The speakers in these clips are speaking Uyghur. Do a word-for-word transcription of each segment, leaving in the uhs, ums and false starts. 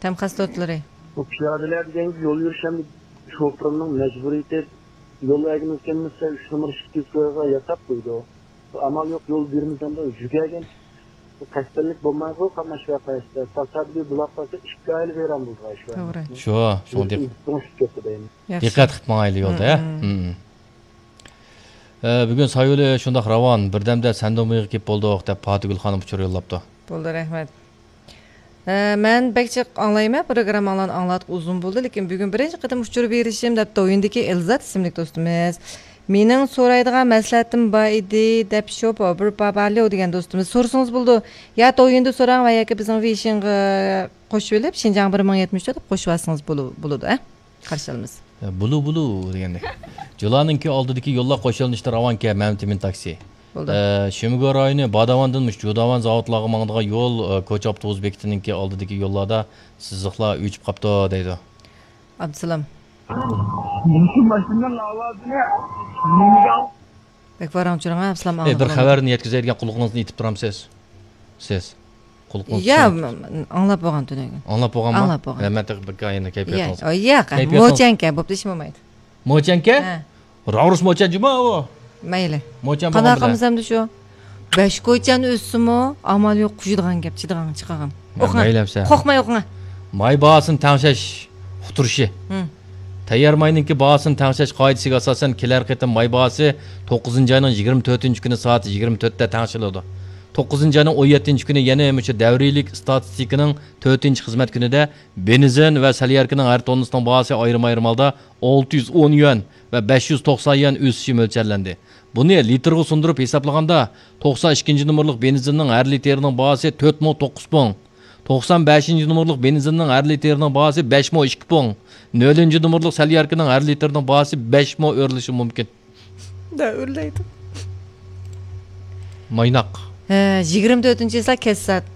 تەم خاسلىقلىرى. بۇ پىيادىلەر دېگەنگە يول يۈرۈش ھەم شوپۇرنىڭ مەجبۇرىيىتى. يول ئەگىمىز كەلمىسە، ئۈچ نومۇر ئىككى يۈز كويغا ياساپ قويىدۇ. ئامال يوق، يول بېرىمىز دەمدۇ، يۈگەرگەن. بۇ قەستەنلىك بولمايدۇ، قاتناش ۋەقەسىدە. تاسادىپىي بولاپ قالسا، ئىككى ئائىلە ۋەيران بولىدۇ شۇ. توغرا. شۇ، شۇڭا دىق-، چوڭىشىپ كەتتى دەيمەن. ياخشى. دىققەت قىلىپ ماڭايلى يولدا، ھە؟ مم، مم. مم. ئە، بۈگۈن سايولى شۇنداق راۋان، بىردەمدە سەندۇمىغا كېلىپ بولدۇق، دەپ پاتىگۈل خانىم ئۇچۇر يوللاپتۇ. بولدى، رەھمەت. ئە، مەن بەك جىق ئاڭلايمەن، پروگرامماڭلارنى ئاڭلاتقىلى ئۇزۇن بولدى، لېكىن بۈگۈن بىرىنچى قېتىم ئۇچۇر بېرىشىم، دەپتۇ ئويۇندىكى ئېلزات ئىسىملىك دوستىمىز. مېنىڭ سورايدىغان مەسلىھەتىم بار ئىدى، دەپ شوپۇر بىر پاپاليو دېگەن دوستىمىز. سورىسىڭىز بولىدۇ. يا تويۇندا سوراڭ ۋە ياكى بىزنىڭ ۋېيشىنغا قوشۇۋېلىپ، شىنجاڭ بىر مىڭ يەتمىش تۆت دەپ قوشۇۋالسىڭىز بولۇ-، بولىدۇ، ئە؟ قارشى ئالىمىز. بۇلۇ بۇلۇ دېگەندەك. جۇلانىڭكى ئالدىدىكى يوللار قوشۇلۇشتا راۋانكەن، مەمتىمىن تاكسى. بولدى. ئە، شىمگو رايونى، باداۋاندىن مۇشۇ جۇداۋان زاۋۇتلارغا ماڭىدىغان يول، ئە، كوچا ئاپتوبۇس بېكىتىنىڭكى ئالدىدىكى يوللاردا سىزىقلار ئۆچۈپ قاپتۇ، دەيدۇ. ئابدۇسالام. مۇشۇ ماشىنىنىڭ ئاۋازىنى نېمىگە بەك ۋاراڭ-چۇرۇڭ، ھە، ئابدۇسالام، ئەي، بىر ئاڭلىدىم. خەۋەرنى يەتكۈزەيدىگەن قۇلىقىڭىزنى ئېتىپ تۇرامسىز؟ سىز. قۇلىقىڭىز يا، چۈشۈپ م-، م-، ئاڭلاپ بولغان تۈنۈگۈن. ئاڭلاپ بولغانمۇ؟ ئاڭلاپ بولغان. ھە، مەن تېخى بىر كايىنى كەيپىياتىڭىز. يا، ئو، ياق، كەيپىياتىڭىز. موچەنكە، بوپتۇ، ئىشمۇ بولمايدۇ. موچەنكە؟ ھە. راۋرۇس موچەن جۇما ئۇ. مەيلى. موچەن قانداق بولغان قىلىمىز ئەمدى شۇ؟ بەش كوچان ئۆسسىمۇ، ئامال يوق، قۇژىدىغان گەپ، چىدىغان چىقىغان. ھە، ئوقۇڭا. مەيلى ئەمسە. قورقماي ئوقۇڭا. ماي باھاسىنى تەڭشەش ئۇقتۇرۇشى. ھىم. تەييار ماينىڭكى باھاسىنى تەڭشەش قائىدىسىگە ئاساسەن، كېلەر قېتىم ماي باھاسى توققۇزىنچى ئاينىڭ يىگىرمە تۆتىنچى كۈنى سائەت يىگىرمە تۆتتە تەڭشىلىدۇ. توققۇزىنچى ئاينىڭ ئون يەتتىنچى كۈنى يەنە مۇشۇ دەۋرىيلىك ئىستاتىستىكىنىڭ تۆتىنچى خىزمەت كۈنىدە بېنزىن ۋە سەلياركىنىڭ ھەر توننىسىنىڭ باھاسى ئايرىم-ئايرىم ھالدا ئالتە يۈز ئون يۈەن ۋە بەش يۈز توقسان يۈەن ئۆسۈشى مۆلچەرلەندى. بۇنى لىتىرغا سۇندۇرۇپ ھېسابلىغاندا، توقسان ئىككىنچى نومۇرلۇق بېنزىننىڭ ھەر لىتىرىنىڭ باھاسى تۆت مىڭ توققۇز پۇڭ، توقسان بەشىنچى نومۇرلۇق بېنزىننىڭ ھەر لىتىرىنىڭ باھاسى بەش مو ئىككى پۇڭ، نۆلىنچى نومۇرلۇق سەلياركىنىڭ ھەر لىتىرىنىڭ باھاسى بەش مو ئۆرلىشى مۇمكىن. دا ئۆرلەيدۇ. مايناق. ھە، يىگىرمە تۆتىنچى چىسلا كەچ سائەت.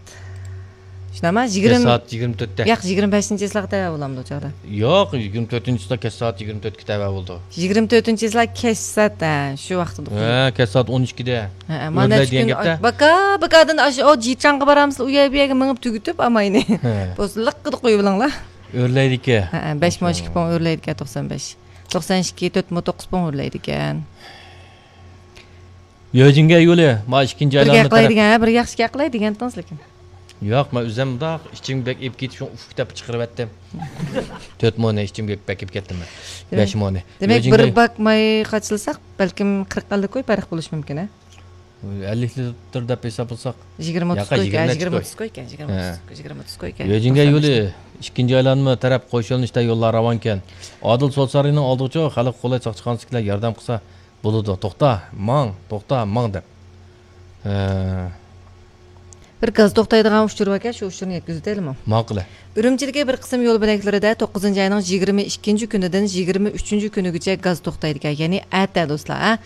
شۇنداقمۇ؟ كەچ يىگىرمە، سائەت يىگىرمە تۆتتە. ياق، يىگىرمە بەشىنچى چىسلاغا تەۋە بولامدۇ ئۇ چاغدا؟ ياق، يىگىرمە تۆتىنچى چىسلا كەچ سائەت يىگىرمە تۆتكە تەۋە بولىدۇ. يىگىرمە تۆتىنچى چىسلا كەچ سائەت، ھە، شۇ ۋاقتىدا. ھە، كەچ سائەت ئون ئىككىدە. ھە، مانا ئۆرلەي شۇ دېگەن كۈن گەپتە. باكا، باكادىن ئاشۇ، ئۇ جىچاڭغا بارامسىلەر، ئۇ يەر بۇ يەرگە مېڭىپ تۈگىتىپ ئاماينى. ھە. بولسا لىققىدە قويۇۋېلىڭلار. ئۆرلەيدىكەن. ھە، بەش مو ئىككى پۇڭ ئۆرلەيدىكەن، توقسان بەش. توقسان ئىككى، تۆت مو توققۇز پۇڭ ئۆرلەيدىكەن. يۆجىڭگە يولى، ما ئىككىنچى بىر ئايلانما گەپ قىلاي تەرەپ. دېگەن، بىر ياخشى گەپ قىلاي دېگەنتىڭىز لېكىن. ياق، مەن ئۆزۈم مۇنداق ئىچىمگە بەك ئېلىپ كېتىپ، شۇڭا ئۇف دەپ چىقىرىۋەتتىم. تۆت مونى ئىچىمگە بەك ئېلىپ كەتتىم مەن. دېمەك، بەش مونى. دېمەك، يۆجىڭگە بىر باك ماي قاچىلىساق، بەلكىم قىرىق ئەللىك كوي پەرق بولۇشى مۇمكىن، ھە؟ ئەللىك لىتىر دەپ ھېسابلىساق. يىگىرمە ئوتتۇز ياقا، كوي ئىكەن، يىگىرمە نەچچە يىگىرمە كوي. ئوتتۇز كوي ئىكەن، يىگىرمە ھە. ئوتتۇز كوي، يىگىرمە ئوتتۇز كوي ئىكەن. يۆجىڭگە توقسان يولى، ئىككىنچى ئايلانما تەرەپ قوشۇلۇشتا يوللار راۋانكەن. ئادىل سوت سارىيىنىڭ ئالدىغىچۇ خەلق قولاي ساقچىخانىسىدىكىلەر ياردەم قىلسا بولىدۇ. توختا، ماڭ، توختا، ماڭ دەپ. ھە. بىر گاز توختايدىغان ئۇچۇر باركەن، شۇ ئۇچۇرنى يەتكۈزۈۋېتەيلىمۇ؟ ماقۇلە. ئۈرۈمچىدىكى بىر قىسىم يول بۆلەكلىرىدە توققۇزىنچى ئاينىڭ يىگىرمە ئىككىنچى كۈنىدىن يىگىرمە ئۈچىنچى كۈنىگىچە گاز توختايدىكەن، يەنى ئەتە دوستلار، ھە.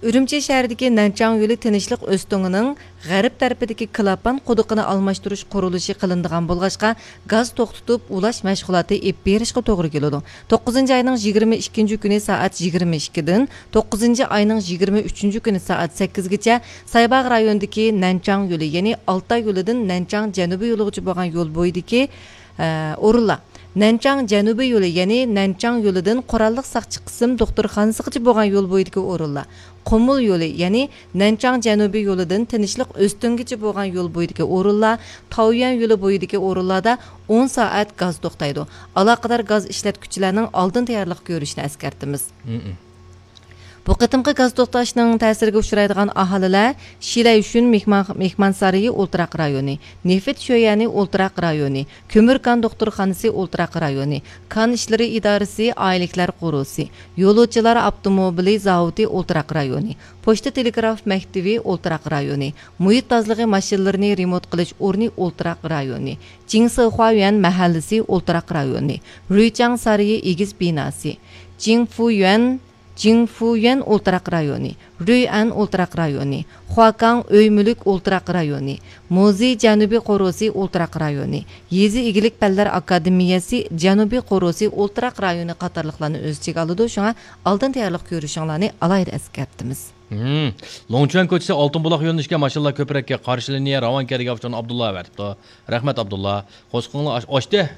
ئۈرۈمچى شەھىرىدىكى نەنچاڭ يولى تىنچلىق ئۆستىڭىنىڭ غەرب تەرىپىدىكى كلاپان قۇدۇقىنى ئالماشتۇرۇش قۇرۇلۇشى قىلىنىدىغان بولغاچقا، گاز توختىتىپ ئۇلاش مەشغۇلاتى ئېلىپ بېرىشقا توغرا كېلىدۇ. توققۇزىنچى ئاينىڭ يىگىرمە ئىككىنچى كۈنى سائەت يىگىرمە ئىككىدىن توققۇزىنچى ئاينىڭ يىگىرمە ئۈچىنچى كۈنى سائەت سەككىزگىچە سايباغ رايونىدىكى نەنچاڭ يولى، يەنى ئالتاي يولىدىن نەنچاڭ جەنۇبىي يولىغىچە بولغان يول بويىدىكى، ئە، ئورۇنلار. نەنچاڭ جەنۇبىي يولى، يەنى نەنچاڭ يولىدىن قوراللىق ساقچى قىسىم دوختۇرخانىسىغىچە بولغان يول بويىدىكى ئورۇنلار. قۇمۇل يولى، يەنى نەنچاڭ جەنۇبىي يولىدىن تىنچلىق ئۆستۈڭگىچە بولغان يول بويىدىكى ئورۇنلار، تاۋيۈەن يولى بويىدىكى ئورۇنلاردا ئون سائەت گاز توختايدۇ. ئالاقىدار گاز ئىشلەتكۈچىلەرنىڭ ئالدىن تەييارلىق كۆرۈشىنى ئەسكەرتىمىز. مم. بۇ قېتىمقى گاز توختاشنىڭ تەسىرىگە ئۇچرايدىغان ئاھالىلەر شىلەيشۈن مېھمان، مېھمانسارىيى ئولتۇراق رايونى، نېفىت شۆيەنى ئولتۇراق رايونى، كۆمۈر كان دوختۇرخانىسى ئولتۇراق رايونى، كان ئىشلىرى ئىدارىسى ئائىلىلىكلەر قورۇسى، يولۇچىلار ئاپتوموبىلى زاۋۇتى ئولتۇراق رايونى، پوچتا تېلېگراف مەكتىۋى ئولتۇراق رايونى، مۇھىت تازىلىقى ماشىنىلىرىنى رېمونت قىلىش ئورنى ئولتۇراق رايونى، جىڭسىخۇايۈەن مەھەللىسى ئولتۇراق رايونى، رۈيچاڭ سارىيى ئېگىز بىناسى، جىڭفۇيۈەن، جىڭفۇيۈەن ئولتۇراق رايونى، رۈيئەن ئولتۇراق رايونى، خۇاكاڭ ئۆي مۈلۈك ئولتۇراق رايونى، مۇزېي جەنۇبىي قورۇسى ئولتۇراق رايونى، يېزا ئىگىلىك پەنلەر ئاكادېمىيەسى جەنۇبىي قورۇسى ئولتۇراق رايونى قاتارلىقلارنى ئۆز ئىچىگە ئالىدۇ، شۇڭا ئالدىن تەييارلىق كۆرۈشۈڭلارنى ئالاھىدە ئەسكەرتىمىز. ھىم. لوڭچۈەن كوچىسى ئالتۇن بۇلاق يۆنىلىشىگە ماشىنىلار كۆپرەككە قارشى لىنىيە راۋانكە دېگەن ئاپتورنى ئابدۇللا ئەۋەتىپتۇ. رەھمەت، ئابدۇللا. قوشقىڭلار ئاش-، ئاشتى.